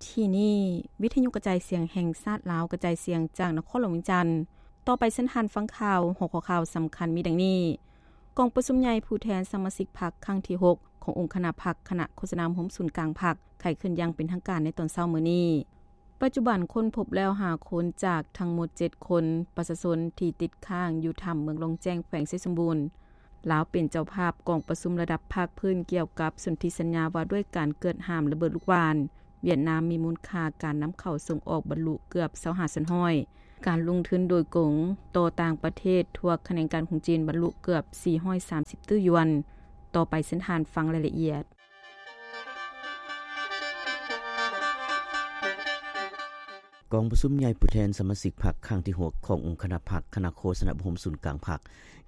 ທີ່ນີ້ ວິທະຍຸກະຈາຍສຽງແຫ່ງຊາດລາວ ກະຈາຍສຽງຈາກນະຄອນຫຼວງວຽງຈັນ. ຕໍ່ໄປເຊີນທ່ານຟັງຂ່າວ. ຫົວຂໍ້ຂ່າວສຳຄັນມີດັ່ງນີ້: ກອງປະຊຸມໃຫຍ່ຜູ້ແທນສະມາຊິກພັກຄັ້ງທີຫົກ ຂອງອົງຄະນະພັກ ຄະນະໂຄສະນາອົບຮົມສູນກາງພັກ ໄຂຂຶ້ນຢ່າງເປັນທາງການໃນຕອນເຊົ້າມື້ນີ້. ປັດຈຸບັນຄົ້ນພົບແລ້ວຫ້າຄົນຈາກທັງໝົດເຈັດຄົນ. ປະຊາຊົນທີ່ຕິດຄ້າງຢູ່ຖ້ຳເມືອງລ່ອງແຈ້ງ ແຂວງໄຊສົມບູນ. ລາວເປັນເຈົ້າພາບກອງປະຊຸມລະດັບພາກພື້ນກ່ຽວກັບສົນທິສັນຍາວ່າດ້ວຍການກວດຫ້າມລະເບີດລູກຫວ່ານ. ຫວຽດນາມມີມູນຄ່າການນຳເຂົ້າສົ່ງອອກບັນລຸເກືອບຊາວຫ້າສ່ວນຮ້ອຍ. ການລົງທຶນໂດຍກົງຕໍ່ຕ່າງປະເທດທົ່ວຂະແໜງການຂອງຈີນບັນລຸເກືອບສີ່ຮ້ອຍສາມສິບຕື້ຢວນ. ຕໍ່ໄປເຊີນທ່ານຟັງລາຍລະອຽດ. ກອງປະຊຸມໃຫຍ່ຜູ້ແທນສະມາຊິກພັກຄັ້ງທີຫົກ ຂອງອົງຄະນະພັກ ຄະນະໂຄສະນາອົບຮົມສູນກາງພັກ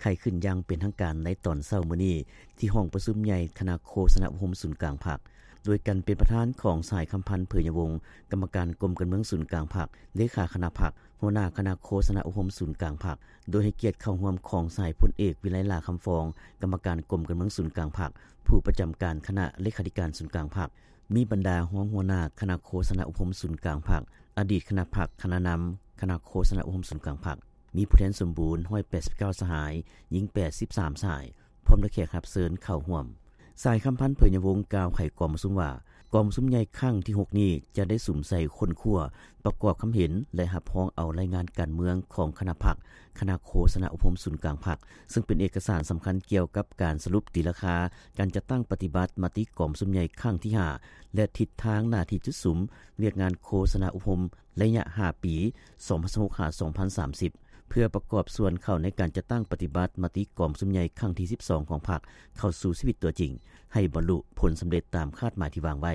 ໄຂຂຶ້ນຢ່າງເປັນທາງການໃນຕອນເຊົ້າມື້ນີ້ ທີ່ຫ້ອງປະຊຸມໃຫຍ່ຄະນະໂຄສະນາອົບຮົມສູນກາງພັກ ໂດຍການເປັນປະທານຂອງ ສະຫາຍ ຄຳພັນ ເຜີຍຍະວົງ ກຳມະການກົມການເມືອງສູນກາງພັກ, ເລຂາຄະນະພັກ, ຫົວໜ້າຄະນະໂຄສະນາອົບຮົມສູນກາງພັກ, ໂດຍໃຫ້ກຽດເຂົ້າຮ່ວມຂອງ ສະຫາຍ ພົນເອກ ວິໄລຫຼ້າ ຄຳຟອງ ກຳມະການກົມການເມືອງສູນກາງພັກ, ຜູ້ປະຈຳການຄະນະເລຂາທິການສູນກາງພັກ, ມີບັນດາຮອງຫົວໜ້າຄະນະໂຄສະນາອົບຮົມສູນກາງພັກ, ອະດີດຄະນະພັກ, ຄະນະນຳຄະນະໂຄສະນາອົບຮົມສູນກາງພັກ, ມີຜູ້ແທນສົມບູນ ຮ້ອຍແປດສິບເກົ້າ ສະຫາຍ, ຍິງ ແປດສິບສາມ ສະຫາຍ, ພ້ອມດ້ວຍແຂກຮັບເຊີນເຂົ້າຮ່ວມ. ສະຫາຍ ຄຳພັນ ເຜີຍຍະວົງ ກ່າວໃຫ້ກອງປະຊຸມວ່າ ກອງປະຊຸມໃຫຍ່ຄັ້ງທີຫົກນີ້ ຈະໄດ້ສຸມໃສ່ຄົ້ນຄວ້າ, ປະກອບຄຳເຫັນ ແລະ ຮັບຮອງເອົາລາຍງານການເມືອງຂອງຄະນະພັກ, ຄະນະໂຄສະນາອົບຮົມສູນກາງພັກ, ເຊິ່ງເປັນເອກະສານສຳຄັນກ່ຽວກັບການສະຫຼຸບຕີລາຄາການຈັດຕັ້ງປະຕິບັດມະຕິກອງປະຊຸມໃຫຍ່ຄັ້ງທີຫ້າ ແລະ ທິດທາງໜ້າທີ່ຈຸດສຸມວຽກງານໂຄສະນາອົບຮົມ ໄລຍະຫ້າປີ ສອງພັນຊາວຫົກ ຫາ ສອງພັນສາມສິບ ເພື່ອປະກອບສ່ວນເຂົ້າໃນການຈັດຕັ້ງປະຕິບັດມະຕິກອງປະຊຸມໃຫຍ່ຄັ້ງທີສິບສອງຂອງພັກ ເຂົ້າສູ່ຊີວິດຕົວຈິງ ໃຫ້ບັນລຸຜົນສຳເລັດຕາມຄາດໝາຍທີ່ວາງໄວ້.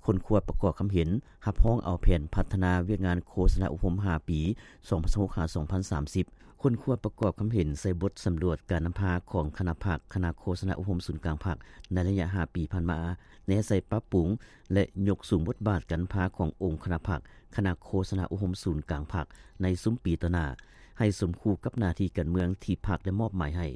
ຄົ້ນຄວ້າປະກອບຄຳເຫັນ ຮັບຮອງເອົາແຜນພັດທະນາວຽກງານໂຄສະນາອົບຮົມຫ້າປີ ສອງພັນຊາວຫົກ ຫາ ສອງພັນສາມສິບ, ຄົ້ນຄວ້າປະກອບຄຳເຫັນໃສ່ບົດສຳຫຼວດການນຳພາຂອງຄະນະພັກ, ຄະນະໂຄສະນາອົບຮົມສູນກາງພັກ ໃນໄລຍະຫ້າປີຜ່ານມາ, ແນໃສ່ປັບປຸງ ແລະ ຍົກສູງບົດບາດການນຳພາຂອງອົງຄະນະພັກ, ຄະນະໂຄສະນາອົບຮົມສູນກາງພັກ ໃນຊຸມປີຕໍ່ໜ້າ ໃຫ້ສົມຄູ່ກັບໜ້າທີ່ການເມືອງທີ່ພັກໄດ້ມອບໝາຍໃຫ້,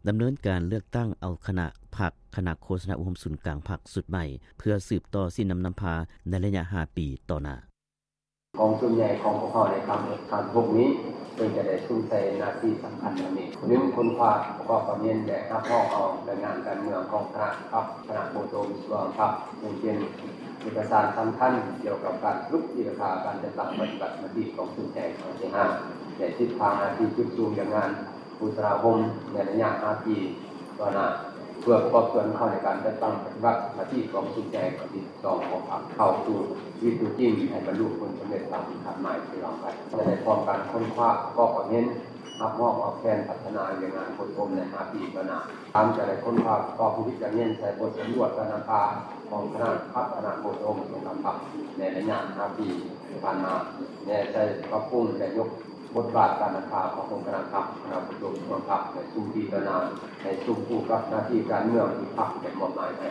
ດຳເນີນການເລືອກຕັ້ງເອົາຄະນະພັກ, ຄະນະໂຄສະນາອົບຮົມສູນກາງພັກຊຸດໃໝ່ ເພື່ອສືບຕໍ່ຊີ້ນຳນຳພາໃນໄລຍະຫ້າປີຕໍ່ໜ້າ. ກອງປະຊຸມໃຫຍ່ຂອງພວກເຮົາໃນຄັ້ງທີຫົກນີ້ ເຊິ່ງຈະໄດ້ສຸມໃສ່ໜ້າທີ່ສຳຄັນດັ່ງນີ້: ໜຶ່ງ, ຄົ້ນຄວ້າປະກອບຄວາມເຫັນ ແລະ ຮັບຮອງເອົາລາຍງານການເມືອງຂອງຄະນະພັກ, ຄະນະໂຄສະນາອົບຮົມສູນກາງພັກ ເຊິ່ງເປັນເອກະສານສຳຄັນກ່ຽວກັບການສະຫຼຸບຕີລາຄາການຈັດຕັ້ງປະຕິບັດມະຕິກອງປະຊຸມໃຫຍ່ຄັ້ງທີຫ້າ ແລະ ທິດທາງໜ້າທີ່ຈຸດສຸມວຽກງານໂຄສະນາອົບຮົມໃນໄລຍະຫ້າປີຕໍ່ໜ້າ ເພື່ອປະກອບສ່ວນເຂົ້າໃນການຈັດຕັ້ງປະຕິບັດມະຕິກອງປະຊຸມໃຫຍ່ຄັ້ງທີສິບສອງຂອງພັກ ເຂົ້າສູ່ຊີວິດຕົວຈິງ ໃຫ້ບັນລຸຜົນສຳເລັດຕາມທີ່ຄາດໝາຍທີ່ວາງໄວ້. ຈະໄດ້ພ້ອມການຄົ້ນຄວ້າປະກອບຄວາມເຫັນ ຮັບຮອງເອົາແຜນພັດທະນາວຽກງານໂຄສະນາອົບຮົມໃນຫ້າປີຕໍ່ໜ້າ. ສາມ, ຈະໄດ້ຄົ້ນຄວ້າປະກອບພິຈາລະນາໃສ່ບົດສຳຫຼວດການນຳພາຂອງຄະນະພັກ, ຄະນະໂຄສະນາອົບຮົມຂອງພັກໃນໄລຍະຫ້າປີຜ່ານມາ, ແນໃສ່ປັບປຸງ ແລະ ຍົກບົດບາດການນຳພາຂອງອົງຄະນະພັກ, ຄະນະໂຄສະນາອົບຮົມຂອງພັກໃນຊຸມປີຕໍ່ໜ້າ ໃຫ້ສົມຄູ່ກັບໜ້າທີ່ການເມືອງທີ່ພັກໄດ້ມອບໝາຍໃຫ້.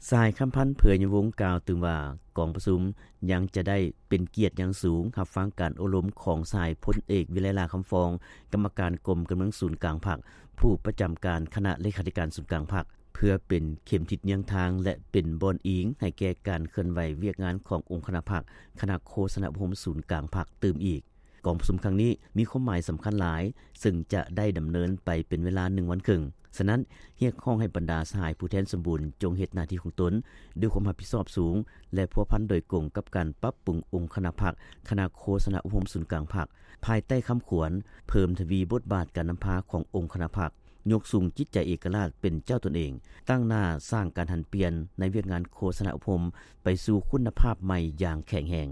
ສະຫາຍ ຄຳພັນ ເຜີຍຍະວົງ ກ່າວຕື່ມວ່າ ກອງປະຊຸມຍັງຈະໄດ້ເປັນກຽດຢ່າງສູງ ຮັບຟັງການໂອ້ລົມຂອງສະຫາຍ ພົນເອກ ວິໄລຫຼ້າ ຄຳຟອງ ກຳມະການກົມການເມືອງສູນກາງພັກ, ຜູ້ປະຈຳການຄະນະເລຂາທິການສູນກາງພັກ ເພື່ອເປັນເຂັມທິດເຍືອງທາງ ແລະ ເປັນບ່ອນອີງໃຫ້ແກ່ການເຄື່ອນໄຫວວຽກງານຂອງອົງຄະນະພັກ, ຄະນະໂຄສະນາອົບຮົມສູນກາງພັກຕື່ມອີກ. ກອງປະຊຸມຄັ້ງນີ້ມີຄວາມໝາຍສຳຄັນຫຼາຍ, ເຊິ່ງຈະໄດ້ດຳເນີນໄປເປັນເວລາໜຶ່ງວັນເຄິ່ງ. ສະນັ້ນ, ຮຽກຮ້ອງໃຫ້ບັນດາສະຫາຍຜູ້ແທນສົມບູນຈົ່ງເຮັດໜ້າທີ່ຂອງຕົນດ້ວຍຄວາມຮັບຜິດຊອບສູງ ແລະ ພົວພັນໂດຍກົງກັບການປັບປຸງອົງຄະນະພັກ, ຄະນະໂຄສະນາອົບຮົມສູນກາງພັກ, ພາຍໃຕ້ຄຳຂວັນ ເພີ່ມທະວີບົດບາດການນຳພາຂອງອົງຄະນະພັກ, ຍົກສູງຈິດໃຈເອກະລາດເປັນເຈົ້າຕົນເອງ, ຕັ້ງໜ້າສ້າງການຫັນປ່ຽນໃນວຽກງານໂຄສະນາອົບຮົມໄປສູ່ຄຸນນະພາບໃໝ່ຢ່າງແຂງແຮງ.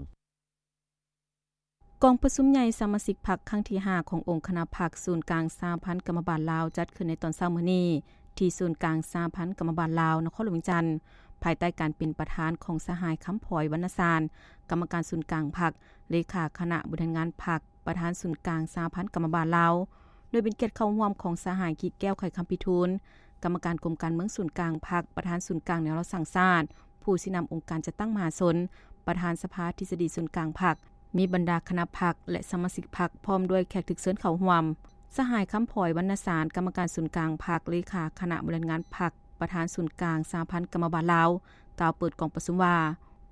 ກອງປະຊຸມໃຫຍ່ສະມາຊິກພັກຄັ້ງທີຫ້າ ຂອງອົງຄະນະພັກສູນກາງສະຫະພັນກຳມະບານລາວ ຈັດຂຶ້ນໃນຕອນເຊົ້າມື້ນີ້ ທີ່ສູນກາງສະຫະພັນກຳມະບານລາວ ນະຄອນຫຼວງວຽງຈັນ, ພາຍໃຕ້ການເປັນປະທານຂອງສະຫາຍ ຄຳພອຍ ວັນນະສານ ກຳມະການສູນກາງພັກ, ເລຂາຄະນະບໍລິຫານງານພັກ, ປະທານສູນກາງສະຫະພັນກຳມະບານລາວ, ໂດຍເປັນກຽດເຂົ້າຮ່ວມຂອງສະຫາຍ ກິແກ້ວ ໄຂຄຳພິທູນ ກຳມະການກົມການເມືອງສູນກາງພັກ, ປະທານສູນກາງແນວລາວສ້າງຊາດ, ຜູ້ຊີ້ນຳອົງການຈັດຕັ້ງມະຫາຊົນ, ປະທານສະພາທິດສະດີສູນກາງພັກ, ມີບັນດາຄະນະພັກ ແລະ ສະມາຊິກພັກ ພ້ອມດ້ວຍແຂກຖືກເຊີນເຂົ້າຮ່ວມ. ສະຫາຍ ຄຳພອຍ ວັນນະສານ ກຳມະການສູນກາງພັກ, ເລຂາຄະນະບໍລິຫານງານພັກ, ປະທານສູນກາງສະຫະພັນກຳມະບານລາວ ກ່າວເປີດກອງປະຊຸມວ່າ,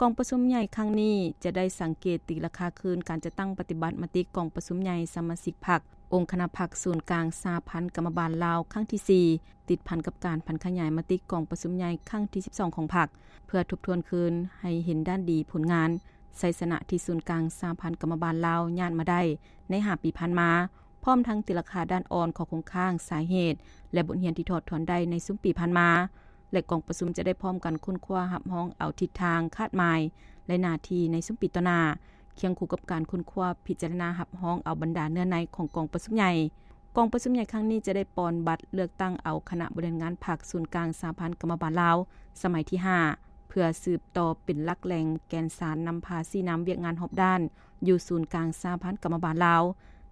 ກອງປະຊຸມໃຫຍ່ຄັ້ງນີ້ຈະໄດ້ສັງເກດຕີລາຄາຄືນການຈັດຕັ້ງປະຕິບັດມະຕິກອງປະຊຸມໃຫຍ່ສະມາຊິກພັກ ອົງຄະນະພັກສູນກາງສະຫະພັນກຳມະບານລາວຄັ້ງທີສີ່ ຕິດພັນກັບການຜັນຂະຫຍາຍມະຕິກອງປະຊຸມໃຫຍ່ຄັ້ງທີສິບສອງຂອງພັກ ເພື່ອທົບທວນຄືນໃຫ້ເຫັນດ້ານດີຜົນງານ ໄຊຊະນະທີ່ສູນກາງສະຫະພັນກຳມະບານລາວຍາດມາໄດ້ໃນຫ້າປີຜ່ານມາ, ພ້ອມທັງຕີລາຄາດ້ານອ່ອນ, ຂໍ້ຄົງຄ້າງ, ສາເຫດ ແລະ ບົດຮຽນທີ່ຖອດຖອນໄດ້ໃນຊຸມປີຜ່ານມາ ແລະ ກອງປະຊຸມຈະໄດ້ພ້ອມກັນຄົ້ນຄວ້າຮັບຮອງເອົາທິດທາງ, ຄາດໝາຍ ແລະ ໜ້າທີ່ໃນຊຸມປີຕໍ່ໜ້າ, ຄຽງຄູ່ກັບການຄົ້ນຄວ້າພິຈາລະນາຮັບຮອງເອົາບັນດາເນື້ອໃນຂອງກອງປະຊຸມໃຫຍ່. ກອງປະຊຸມໃຫຍ່ຄັ້ງນີ້ຈະໄດ້ປ່ອນບັດເລືອກຕັ້ງເອົາຄະນະບໍລິຫານງານພັກສູນກາງສະຫະພັນກຳມະບານລາວ ສະໄໝທີຫ້າ ເພື່ອສືບຕໍ່ເປັນຫຼັກແຫຼ່ງແກນສານນຳພາຊີ້ນຳວຽກງານຮອບດ້ານ ຢູ່ສູນກາງສະຫະພັນກຳມະບານລາວ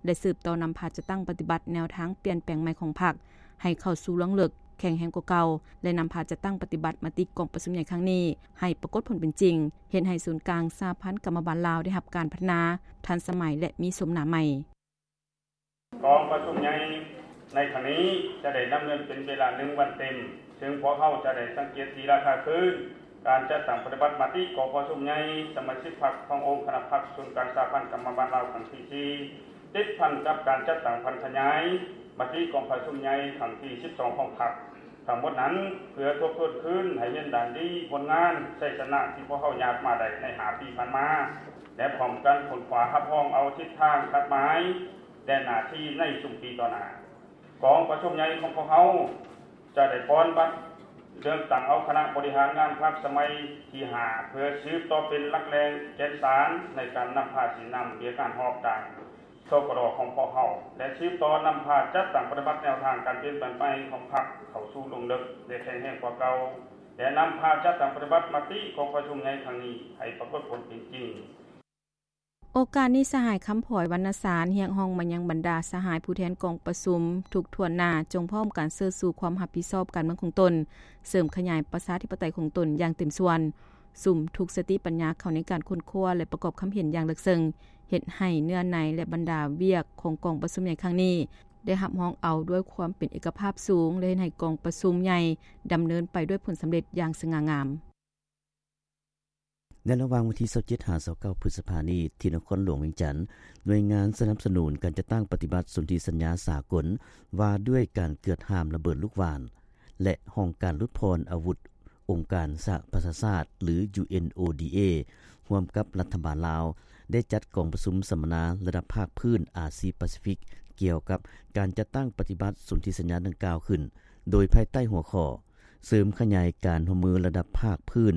ແລະ ສືບຕໍ່ນຳພາຈັດຕັ້ງປະຕິບັດແນວທາງປ່ຽນແປງໃໝ່ຂອງພັກ ໃຫ້ເຂົ້າສູ່ລວງເລິກ, ແຂງແຮງກວ່າເກົ່າ ແລະ ນຳພາຈັດຕັ້ງປະຕິບັດມະຕິກອງປະຊຸມໃຫຍ່ຄັ້ງນີ້ ໃຫ້ປາກົດຜົນເປັນຈິງ, ເຮັດໃຫ້ສູນກາງສະຫະພັນກຳມະບານລາວໄດ້ຮັບການພັດທະນາ, ທັນສະໄໝ ແລະ ມີໂສມໜ້າໃໝ່. ກອງປະຊຸມໃຫຍ່ໃນຄັ້ງນີ້ຈະໄດ້ດຳເນີນເປັນເວລາໜຶ່ງວັນເຕັມ, ເຊິ່ງພວກເຮົາຈະໄດ້ສັງເກດຕີລາຄາຄືນ ການຈັດຕັ້ງປະຕິບັດມະຕິກອງປະຊຸມໃຫຍ່ສະມາຊິກພັກຂອງອົງຄະນະພັກສູນກາງສະຫະພັນກຳມະບານລາວຄັ້ງທີສີ່ ຕິດພັນກັບການຈັດຕັ້ງຜັນຂະຫຍາຍມະຕິກອງປະຊຸມໃຫຍ່ຄັ້ງທີສິບສອງຂອງພັກ. ທັງໝົດນັ້ນ ເພື່ອທົບທວນຄືນໃຫ້ເຫັນດ້ານດີ, ຜົນງານ, ໄຊຊະນະທີ່ພວກເຮົາຍາດມາໄດ້ໃນຫ້າປີຜ່ານມາ ແລະ ພ້ອມກັນຄົ້ນຄວ້າຮັບຮອງເອົາທິດທາງ, ຄາດໝາຍ ແລະ ໜ້າທີ່ໃນຊຸມປີຕໍ່ໜ້າ. ກອງປະຊຸມໃຫຍ່ຂອງພວກເຮົາຈະໄດ້ປ່ອນບັດເລືອກຕັ້ງເອົາຄະນະບໍລິຫານງານພັກສະໄໝທີຫ້າ ເພື່ອສືບຕໍ່ເປັນຫຼັກແຫຼ່ງແກນສານໃນການນຳພາຊີ້ນຳວຽກງານຮອບດ້ານ ສກດ ຂອງພວກເຮົາ ແລະ ສືບຕໍ່ນຳພາຈັດຕັ້ງປະຕິບັດແນວທາງການປ່ຽນແປງໃໝ່ຂອງພັກເຂົ້າສູ່ລວງເລິກ ແລະ ແຂງແຮງກວ່າເກົ່າ ແລະ ນຳພາຈັດຕັ້ງປະຕິບັດມະຕິກອງປະຊຸມໃຫຍ່ຄັ້ງນີ້ໃຫ້ປາກົດຜົນເປັນຈິງ. ໂອກາດນີ້ ສະຫາຍ ຄຳພອຍ ວັນນະສານ ຮຽກຮ້ອງມາຍັງບັນດາສະຫາຍຜູ້ແທນກອງປະຊຸມທຸກຖ້ວນໜ້າ ຈົ່ງພ້ອມກັນເຊີດຊູຄວາມຮັບຜິດຊອບການເມືອງຂອງຕົນ, ເສີມຂະຫຍາຍປະຊາທິປະໄຕຂອງຕົນຢ່າງເຕັມສ່ວນ, ສຸມທຸກສະຕິປັນຍາເຂົ້າໃນການຄົ້ນຄວ້າ ແລະ ປະກອບຄຳເຫັນຢ່າງເລິກເຊິ່ງ, ເຮັດໃຫ້ເນື້ອໃນ ແລະ ບັນດາວຽກຂອງກອງປະຊຸມໃຫຍ່ຄັ້ງນີ້ ໄດ້ຮັບຮອງເອົາດ້ວຍຄວາມເປັນເອກະພາບສູງ ແລະ ເຮັດໃຫ້ກອງປະຊຸມໃຫຍ່ດຳເນີນໄປດ້ວຍຜົນສຳເລັດຢ່າງສະຫງ່າງາມ. ໃນລະຫວ່າງວັນທີຊາວເຈັດ ຫາ ຊາວເກົ້າ ພຶດສະພານີ້ ທີ່ນະຄອນຫຼວງວຽງຈັນ, ໜ່ວຍງານສະໜັບສະໜູນການຈັດຕັ້ງປະຕິບັດສົນທິສັນຍາສາກົນວ່າດ້ວຍການເກືອດຫ້າມລະເບີດລູກຫວ່ານ ແລະ ຫ້ອງການຫຼຸດຜ່ອນອາວຸດ ອົງການສະຫະປະຊາຊາດ ຫຼື ຢູເອັນໂອດີເອ ຮ່ວມກັບລັດຖະບານລາວ ໄດ້ຈັດກອງປະຊຸມສຳມະນາລະດັບພາກພື້ນອາຊີປາຊີຟິກ ກ່ຽວກັບການຈັດຕັ້ງປະຕິບັດສົນທິສັນຍາດັ່ງກ່າວຂຶ້ນ, ໂດຍພາຍໃຕ້ຫົວຂໍ້ ເສີມຂະຫຍາຍການຮ່ວມມືລະດັບພາກພື້ນ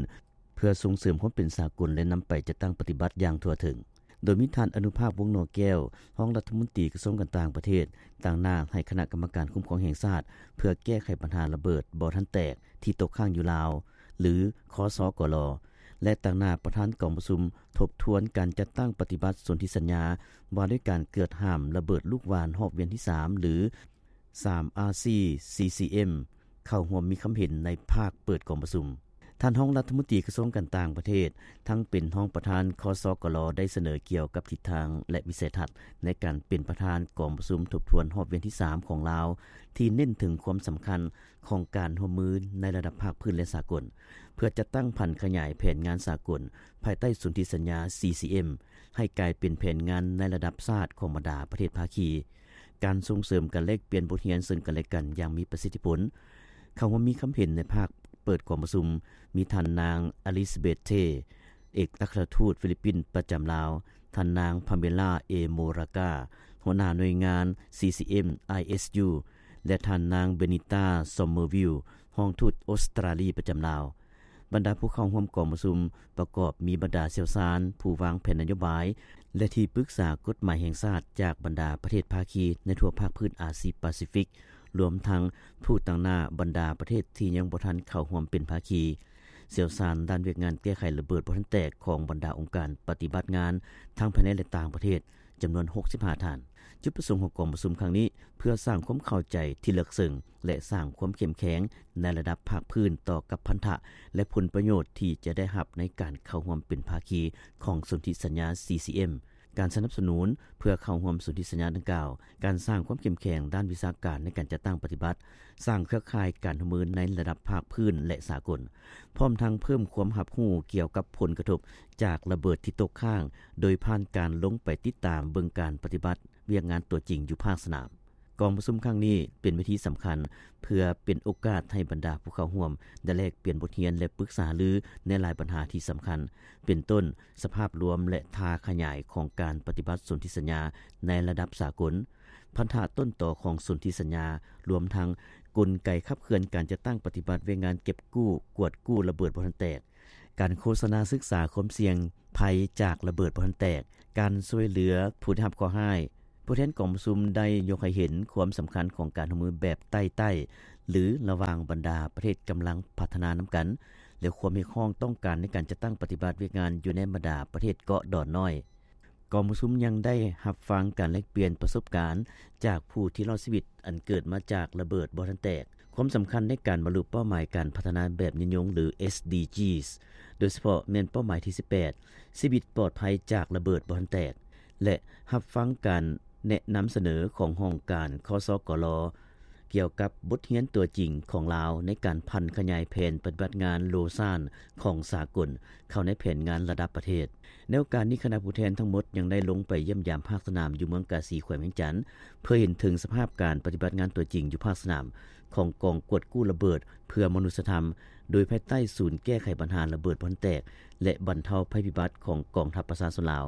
ເພື່ອສົ່ງເສີມຄວາມເປັນສາກົນ ແລະ ນຳໄປຈັດຕັ້ງປະຕິບັດຢ່າງທົ່ວເຖິງ. ໂດຍມີທ່ານ ອະນຸພາກ ວົງໜໍແກ້ວ, ຮອງລັດຖະມົນຕີກະຊວງການຕ່າງປະເທດ, ຕາງໜ້າໃຫ້ຄະນະກຳມະການຄຸ້ມຄອງແຫ່ງຊາດ ເພື່ອແກ້ໄຂບັນຫາລະເບີດບໍ່ທັນແຕກທີ່ຕົກຄ້າງຢູ່ລາວ ຫຼື ຄສກລ ແລະ ຕາງໜ້າປະທານກອງປະຊຸມທົບທວນການຈັດຕັ້ງປະຕິບັດສົນທິສັນຍາວ່າດ້ວຍການເກີດຫ້າມລະເບີດລູກຫວ່ານຮອບວຽນທີສາມ ຫຼື ສາມອາຊີ ຊີຊີເອັມ ເຂົ້າຮ່ວມມີຄຳເຫັນໃນພາກເປີດກອງປະຊຸມ. ທ່ານຮອງລັດຖະມົນຕີກະຊວງການຕ່າງປະເທດ ທັງເປັນຮອງປະທານ ຄສກລ ໄດ້ສະເໜີກ່ຽວກັບທິດທາງ ແລະ ວິໄສທັດໃນການເປັນປະທານກອງປະຊຸມທົບທວນຮອບວຽນທີສາມຂອງລາວ ທີ່ເນັ້ນເຖິງຄວາມສຳຄັນຂອງການຮ່ວມມືໃນລະດັບພາກພື້ນ ແລະ ສາກົນ ເພື່ອຈັດຕັ້ງຜັນຂະຫຍາຍແຜນງານສາກົນ ພາຍໃຕ້ສົນທິສັນຍາ ຊີຊີເອັມ ໃຫ້ກາຍເປັນແຜນງານໃນລະດັບຊາດຂອງບັນດາປະເທດພາຄີ, ການສົ່ງເສີມການແລກປ່ຽນບົດຮຽນເຊິ່ງກັນແລະກັນຢ່າງມີປະສິດທິຜົນ. ເຂົ້າຮ່ວມມີຄຳເຫັນໃນພາກເປີດກອງປະຊຸມ ມີທ່ານນາງ ອາລິສເບດ ເທ ເອກອັກຄະລັດທູດຟີລິບປິນປະຈຳລາວ, ທ່ານນາງ ພາເມລາ ເອ ໂມຣາກາ ຫົວໜ້າໜ່ວຍງານ ຊີຊີເອັມ ໄອເອສຢູ ແລະ ທ່ານນາງ ເບນິຕາ ຊອມເມີວິວ ຮອງທູດອົດສະຕຣາລີປະຈຳລາວ. ບັນດາຜູ້ເຂົ້າຮ່ວມກອງປະຊຸມປະກອບມີບັນດາຊ່ຽວຊານ, ຜູ້ວາງແຜນນະໂຍບາຍ ແລະ ທີ່ປຶກສາກົດໝາຍແຫ່ງຊາດຈາກບັນດາປະເທດພາຄີໃນທົ່ວພາກພື້ນອາຊີປາຊີຟິກ, ລວມທັງຜູ້ຕາງໜ້າບັນດາປະເທດທີ່ຍັງບໍ່ທັນເຂົ້າຮ່ວມເປັນພາຄີ, ຊ່ຽວຊານດ້ານວຽກງານແກ້ໄຂລະເບີດບໍ່ທັນແຕກຂອງບັນດາອົງການປະຕິບັດງານທັງພາຍໃນ ແລະ ຕ່າງປະເທດ ຈຳນວນຫົກສິບຫ້າທ່ານ. ຈຸດປະສົງຂອງກອງປະຊຸມຄັ້ງນີ້ ເພື່ອສ້າງຄວາມເຂົ້າໃຈທີ່ເລິກເຊິ່ງ ແລະ ສ້າງຄວາມເຂັ້ມແຂງໃນລະດັບພາກພື້ນຕໍ່ກັບພັນທະ ແລະ ຜົນປະໂຫຍດທີ່ຈະໄດ້ຮັບໃນການເຂົ້າຮ່ວມເປັນພາຄີຂອງສົນທິສັນຍາ ຊີຊີເອັມ ການສະໜັບສະໜູນເພື່ອເຂົ້າຮ່ວມສົນທິສັນຍາດັ່ງກ່າວ, ການສ້າງຄວາມເຂັ້ມແຂງດ້ານວິຊາການໃນການຈັດຕັ້ງປະຕິບັດ, ສ້າງເຄືອຂ່າຍການຮ່ວມມືໃນລະດັບພາກພື້ນ ແລະ ສາກົນ, ພ້ອມທັງເພີ່ມຄວາມຮັບຮູ້ກ່ຽວກັບຜົນກະທົບຈາກລະເບີດທີ່ຕົກຄ້າງ ໂດຍຜ່ານການລົງໄປຕິດຕາມເບິ່ງການປະຕິບັດວຽກງານຕົວຈິງຢູ່ພາກສະໜາມ. ກອງປະຊຸມຄັ້ງນີ້ເປັນເວທີສຳຄັນ ເພື່ອເປັນໂອກາດໃຫ້ບັນດາຜູ້ເຂົ້າຮ່ວມໄດ້ແລກປ່ຽນບົດຮຽນ ແລະ ປຶກສາຫາລືໃນຫຼາຍບັນຫາທີ່ສຳຄັນ, ເປັນຕົ້ນ ສະພາບລວມ ແລະ ທ່າຂະຫຍາຍຂອງການປະຕິບັດສົນທິສັນຍາໃນລະດັບສາກົນ, ພັນທະຕົ້ນຕໍຂອງສົນທິສັນຍາ, ລວມທັງກົນໄກຂັບເຄື່ອນການຈັດຕັ້ງປະຕິບັດວຽກງານເກັບກູ້, ກວດກູ້ລະເບີດບໍ່ທັນແຕກ, ການໂຄສະນາສຶກສາຄວາມສ່ຽງໄພຈາກລະເບີດບໍ່ທັນແຕກ, ການຊ່ວຍເຫຼືອຜູ້ໄດ້ຮັບເຄາະຮ້າຍ. ຜູ້ແທນກອງປະຊຸມໄດ້ຍົກໃຫ້ເຫັນຄວາມສຳຄັນຂອງການຮ່ວມມືແບບໃຕ້ໆ ຫຼື ລະຫວ່າງບັນດາປະເທດກຳລັງພັດທະນານຳກັນ ແລະ ຄວາມຮຽກຮ້ອງຕ້ອງການໃນການຈັດຕັ້ງປະຕິບັດວຽກງານຢູ່ໃນບັນດາປະເທດເກາະດອນນ້ອຍ. ກອງປະຊຸມຍັງໄດ້ຮັບຟັງການແລກປ່ຽນປະສົບການຈາກຜູ້ທີ່ລອດຊີວິດອັນເກີດມາຈາກລະເບີດບໍ່ທັນແຕກ, ຄວາມສຳຄັນໃນການບັນລຸເປົ້າໝາຍການພັດທະນາແບບຍືນຍົງ ຫຼື SDGs ໂດຍສະເພາະແມ່ນເປົ້າໝາຍທີສິບແປດ ຊີວິດປອດໄພຈາກລະເບີດບໍ່ທັນແຕກ ແລະ ຮັບຟັງການແນະນຳສະເໜີຂອງຫ້ອງການ ຄສກລ ກ່ຽວກັບບົດຮຽນຕົວຈິງຂອງລາວໃນການຜັນຂະຫຍາຍແຜນປະຕິບັດງານໂລຊານຂອງສາກົນເຂົ້າໃນແຜນງານລະດັບປະເທດ. ໃນໂອກາດນີ້, ຄະນະຜູ້ແທນທັງໝົດຍັງໄດ້ລົງໄປຢ້ຽມຢາມພາກສະໜາມຢູ່ເມືອງກາສີ ແຂວງວຽງຈັນ ເພື່ອເຫັນເຖິງສະພາບການປະຕິບັດງານຕົວຈິງຢູ່ພາກສະໜາມຂອງກອງກວດກູ້ລະເບີດເພື່ອມະນຸດສະທຳ ໂດຍພາຍໃຕ້ສູນແກ້ໄຂບັນຫາລະເບີດບໍ່ທັນແຕກ ແລະ ບັນເທົາໄພພິບັດຂອງກອງທັບປະຊາຊົນລາວ.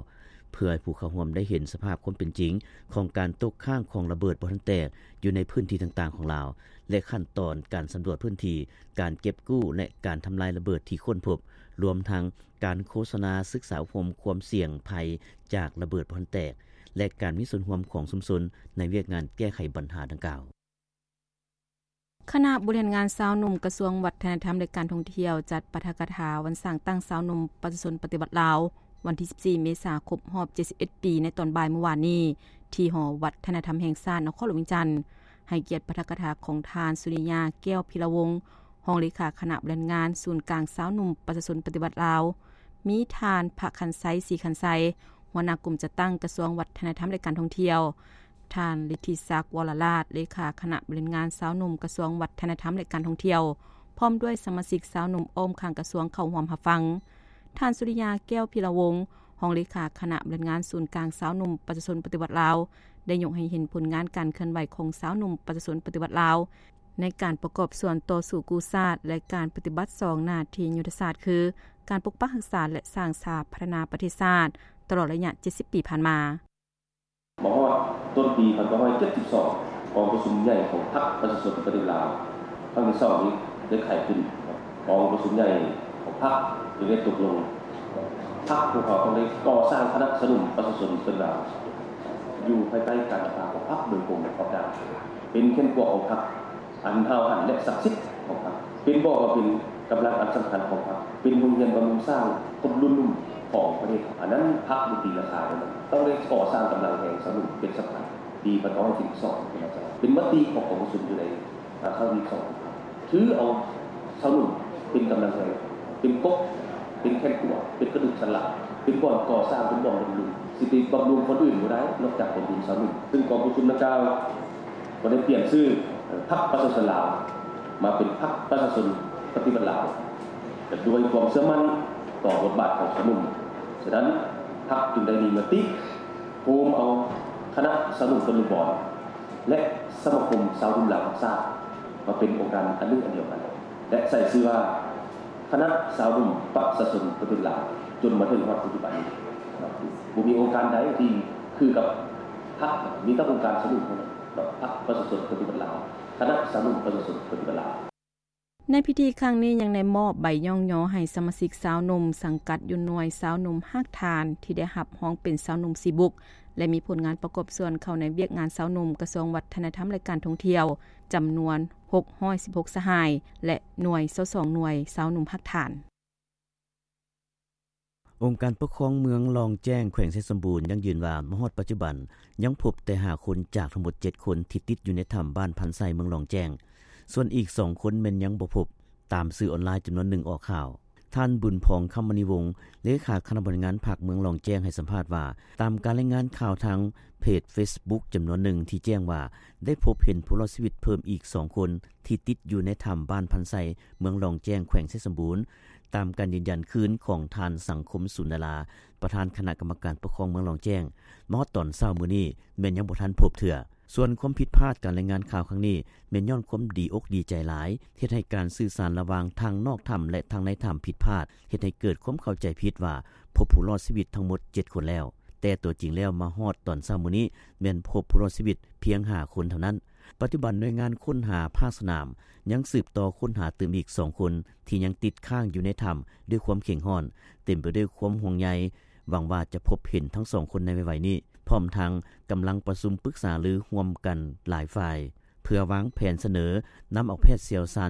ເພື່ອໃຫ້ຜູ້ເຂົ້າຮ່ວມໄດ້ເຫັນສະພາບຄວາມເປັນຈິງຂອງການຕົກຄ້າງຂອງລະເບີດບໍ່ທັນແຕກຢູ່ໃນພື້ນທີ່ຕ່າງໆຂອງລາວ ແລະ ຂັ້ນຕອນການສຳຫຼວດພື້ນທີ່, ການເກັບກູ້ ແລະ ການທຳລາຍລະເບີດທີ່ຄົ້ນພົບ, ລວມທັງການໂຄສະນາສຶກສາອົບຮົມຄວາມສ່ຽງໄພຈາກລະເບີດບໍ່ທັນແຕກ ແລະ ການມີສ່ວນຮ່ວມຂອງຊຸມຊົນໃນວຽກງານແກ້ໄຂບັນຫາດັ່ງກ່າວ. ຄະນະບໍລິຫານງານຊາວໜຸ່ມ ກະຊວງວັດທະນະທຳ ແລະ ການທ່ອງທ່ຽວ ຈັດປາຖະກະຖາວັນສ້າງຕັ້ງຊາວໜຸ່ມປະຊາຊົນປະຕິວັດລາວ ວັນທີສິບສີ່ ເມສາ ຄົບຮອບເຈັດສິບເອັດປີ ໃນຕອນບ່າຍມື້ວານນີ້ ທີ່ຫໍວັດທະນະທຳແຫ່ງຊາດ ນະຄອນຫຼວງວຽງຈັນ. ໃຫ້ກຽດປາຖະກະຖາຂອງທ່ານ ສຸລິຍາ ແກ້ວພິລະວົງ ຮອງເລຂາຄະນະບໍລິຫານງານສູນກາງຊາວໜຸ່ມປະຊາຊົນປະຕິວັດລາວ, ມີທ່ານ ພະຄັນໄຊ ສີຄັນໄຊ ຫົວໜ້າກົມຈັດຕັ້ງກະຊວງວັດທະນະທຳ ແລະ ການທ່ອງທ່ຽວ, ທ່ານ ລິດທິສັກ ວໍລະລາດ ເລຂາຄະນະບໍລິຫານງານຊາວໜຸ່ມກະຊວງວັດທະນະທຳ ແລະ ການທ່ອງທ່ຽວ ພ້ອມດ້ວຍສະມາຊິກຊາວໜຸ່ມອ້ອມຂ້າງກະຊວງເຂົ້າຮ່ວມຮັບຟັງ. ທ່ານ ສຸລິຍາ ແກ້ວພິລະວົງ ຮອງເລຂາຄະນະບໍລິຫານງານສູນກາງຊາວໜຸ່ມປະຊາຊົນປະຕິວັດລາວ ໄດ້ຍົກໃຫ້ເຫັນຜົນງານການເຄື່ອນໄຫວຂອງຊາວໜຸ່ມປະຊາຊົນປະຕິວັດລາວ ໃນການປະກອບສ່ວນຕໍ່ສູ້ກູ້ຊາດ ແລະ ການປະຕິບັດສອງໜ້າທີ່ຍຸດທະສາດ ຄື ການປົກປັກຮັກສາ ແລະ ສ້າງສາພັດທະນາປະເທດຊາດ ຕະຫຼອດໄລຍະເຈັດສິບປີຜ່ານມາ. ມາຮອດຕົ້ນປີພັນເກົ້າຮ້ອຍເຈັດສິບສອງ ກອງປະຊຸມໃຫຍ່ຂອງພັກປະຊາຊົນປະຕິວັດລາວ ຄັ້ງທີສອງນີ້ໄດ້ໄຂຂຶ້ນ. ກອງປະຊຸມໃຫຍ່ຂອງພັກຈຶ່ງໄດ້ຕົກລົງ ພັກພວກເຮົາຕ້ອງໄດ້ກໍ່ສ້າງຄະນະຊາວໜຸ່ມປະຊາຊົນປະຕິວັດລາວ ຢູ່ພາຍໃຕ້ການນຳພາຂອງພັກໂດຍກົງປະກອບດ້ານ ເປັນແຂນຂົວຂອງພັກ ອັນຫ້າວຫັນ ແລະ ສັກສິດຂອງພັກ ເປັນບໍ່ວ່າເປັນກຳລັງອັນສຳຄັນຂອງພັກ ເປັນໂຮງຮຽນບຳລຸງສ້າງຄົນລຸ້ນໜຸ່ມຂອງປະເທດ. ອັນນັ້ນພັກບໍ່ຕີລາຄາໄດ້ ຕ້ອງໄດ້ກໍ່ສ້າງກຳລັງແຮງຊາວໜຸ່ມເປັນສຳຄັນ. ປີພັນເກົ້າຮ້ອຍເຈັດສິບສອງ ເປັນມະຕິຂອງກອງປະຊຸມຢູ່ໃນ ອາ ຄັ້ງທີສອງ ຖືເອົາຊາວໜຸ່ມເປັນກຳລັງແຮງ ເປັນກົກ ເປັນແຂນຂົວ ເປັນກະດູກສັນຫຼັງ ເປັນບ່ອນກໍ່ສ້າງ ເປັນບ່ອນບຳລຸງ ຊິໄປບຳລຸງຄົນອື່ນບໍ່ໄດ້ ນອກຈາກບຳລຸງຊາວໜຸ່ມ. ຊຶ່ງກອງປະຊຸມດັ່ງກ່າວ ກໍໄດ້ປ່ຽນຊື່ ເອີ ພັກປະຊາຊົນລາວ ມາເປັນພັກປະຊາຊົນປະຕິວັດລາວ ແລະ ດ້ວຍຄວາມເຊື່ອໝັ້ນຕໍ່ບົດບາດຂອງຊາວໜຸ່ມ. ສະນັ້ນ ພັກຈຶ່ງໄດ້ມີມະຕິໂຮມເອົາຄະນະຊາວໜຸ່ມຕະລຸບອນ ແລະ ສະມາຄົມຊາວໜຸ່ມລາວຮັກຊາດ ມາເປັນອົງການອັນໜຶ່ງອັນດຽວກັນ ແລະ ໃສ່ຊື່ວ່າ ຄະນະຊາວໜຸ່ມປະຊາຊົນປະຕິວັດລາວ ຈົນມາເຖິງຮອດປັດຈຸບັນນີ້. ບໍ່ມີອົງການໃດທີ່ຄືກັບພັກ ມີແຕ່ອົງການຊາວໜຸ່ມເທົ່ານັ້ນ ພັກປະຊາຊົນປະຕິວັດລາວ ຄະນະຊາວໜຸ່ມປະຊາຊົນປະຕິວັດລາວ. ໃນພິທີຄັ້ງນີ້ຍັງໄດ້ມອບໃບຍ້ອງຍໍໃຫ້ສະມາຊິກຊາວໜຸ່ມສັງກັດຢູ່ໜ່ວຍຊາວໜຸ່ມຮາກຖານ ທີ່ໄດ້ຮັບຮອງເປັນຊາວໜຸ່ມສີບຸກ ແລະ ມີຜົນງານປະກອບສ່ວນເຂົ້າໃນວຽກງານຊາວໜຸ່ມ ກະຊວງວັດທະນະທຳ ແລະ ການທ່ອງທ່ຽວ ຈຳນວນຫົກຮ້ອຍສິບຫົກສະຫາຍ ແລະ ໜ່ວຍຊາວສອງໜ່ວຍຊາວໜຸ່ມຮາກຖານ. ອົງການປົກຄອງເມືອງລ່ອງແຈ້ງ ແຂວງໄຊສົມບູນ ຢັ້ງຢືນວ່າ ມາຮອດປັດຈຸບັນ ຍັງພົບແຕ່ຫ້າຄົນຈາກທັງໝົດເຈັດຄົນ ທີ່ຕິດຢູ່ໃນຖ້ຳບ້ານພັນໄຊ ເມືອງລ່ອງແຈ້ງ. ສ່ວນອີກສອງຄົນແມ່ນຍັງບໍ່ພົບ, ຕາມສື່ອອນລາຍຈຳນວນໜຶ່ງອອກຂ່າວ. ທ່ານ ບຸນພອງ ຄຳມະນີວົງ ເລຂາຄະນະບໍລິຫານພັກເມືອງລ່ອງແຈ້ງ ໃຫ້ສຳພາດວ່າ ຕາມການລາຍງານຂ່າວທາງເພຈເຟສບຸກຈຳນວນໜຶ່ງ ທີ່ແຈ້ງວ່າໄດ້ພົບເຫັນຜູ້ລອດຊີວິດເພີ່ມອີກສອງຄົນ ທີ່ຕິດຢູ່ໃນຖ້ຳບ້ານພັນໄຊ ເມືອງລ່ອງແຈ້ງ ແຂວງໄຊສົມບູນ. ຕາມການຢືນຢັນຄືນຂອງທ່ານ ສັງຄົມ ສູນດາລາ ປະທານຄະນະກຳມະການປົກຄອງເມືອງລ່ອງແຈ້ງ ມາຮອດຕອນເຊົ້າມື້ນີ້ ແມ່ນຍັງບໍ່ທັນພົບເທື່ອ. ສ່ວນຄວາມຜິດພາດການລາຍງານຂ່າວຄັ້ງນີ້ ແມ່ນຍ້ອນຄວາມດີອົກດີໃຈຫຼາຍ ເຮັດໃຫ້ການສື່ສານລະຫວ່າງທັງນອກຖ້ຳ ແລະ ທັງໃນຖ້ຳຜິດພາດ ເຮັດໃຫ້ເກີດຄວາມເຂົ້າໃຈຜິດວ່າພົບຜູ້ລອດຊີວິດທັງໝົດເຈັດຄົນແລ້ວ, ແຕ່ຕົວຈິງແລ້ວມາຮອດຕອນເຊົ້າມື້ນີ້ ແມ່ນພົບຜູ້ລອດຊີວິດພຽງຫ້າຄົນເທົ່ານັ້ນ. ປັດຈຸບັນໜ່ວຍງານຄົ້ນຫາພາກສະໜາມ ຍັງສືບຕໍ່ຄົ້ນຫາຕື່ມອີກສອງຄົນ ທີ່ຍັງຕິດຄ້າງຢູ່ໃນຖ້ຳດ້ວຍຄວາມເຄັ່ງຮ້ອນ, ເຕັມໄປດ້ວຍຄວາມຫ່ວງໃຍ, ຫວັງວ່າຈະພົບເຫັນທັງສອງຄົນໃນໄວໆນີ້. ພ້ອມທັງກຳລັງປະຊຸມປຶກສາລືຮ່ວມກັນຫຼາຍຝ່າຍ ເພື່ອວາງແຜນສະເໜີນຳເອົາແພດຊ່ຽວຊານ